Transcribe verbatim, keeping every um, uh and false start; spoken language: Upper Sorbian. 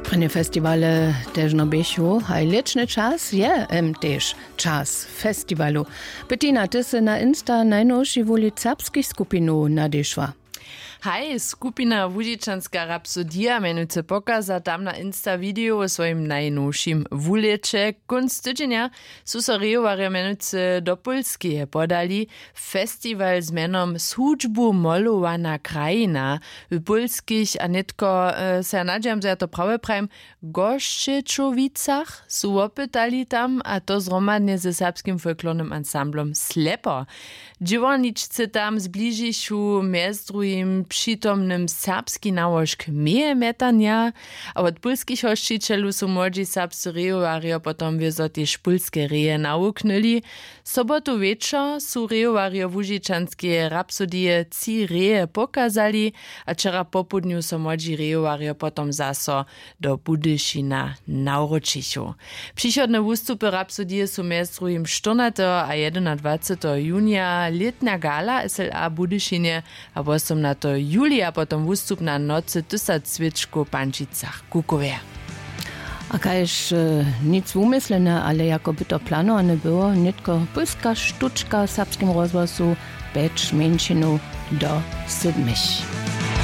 Prěnje festiwale težno běchu, haj lěćny čas je em tež čas festiwalow. Bettina, ty sy na insta najnowši wulic serbskich skupinow nadešła. Haj, skupina łužičanska rapsodija mjenujcy pokaza tam na insta video wo swojim najnowšim wulěće. Kónc tydźenja su so rejowarjo mjenujcy do pólskeje podali. Festiwal z mjenom z hudźbu molowana krajina w pólskich a nětko, sej ja nadźijam zo ja to prawje prajim, w gošćećowicach su wopytali tam a to zhromadnje ze serbskim folklornym ansamblom slepo. Dźěłarničcy tam zbližichu mjez druhim přitomnym serbski nałožk meje mjetanja. A wot pólskich hosćićelow su młodźi serbscy rejowarjo potom wězo tež pólske reje nawuknyli. Sobotu wječor su rejowarjo łužičanskeje rapsodije tři reje pokazali. A wčera popołdnju so młodźi rejowarjo potom zaso do budyšina nawróčichu. Přichodne wustupy rapsodije su mjez druhim štyrnateho a jedynadwaceteho junija lětnja gala sla w budyšinje, a wosomnateho julija potom wustup na nocy tysac swěčkow w pančicach kukowje. A kaž nic wumyslene ale jako by to planowany było nětko pólska štučka w serbskim rozhłosu, pjeć mjeńšinow do sydmich.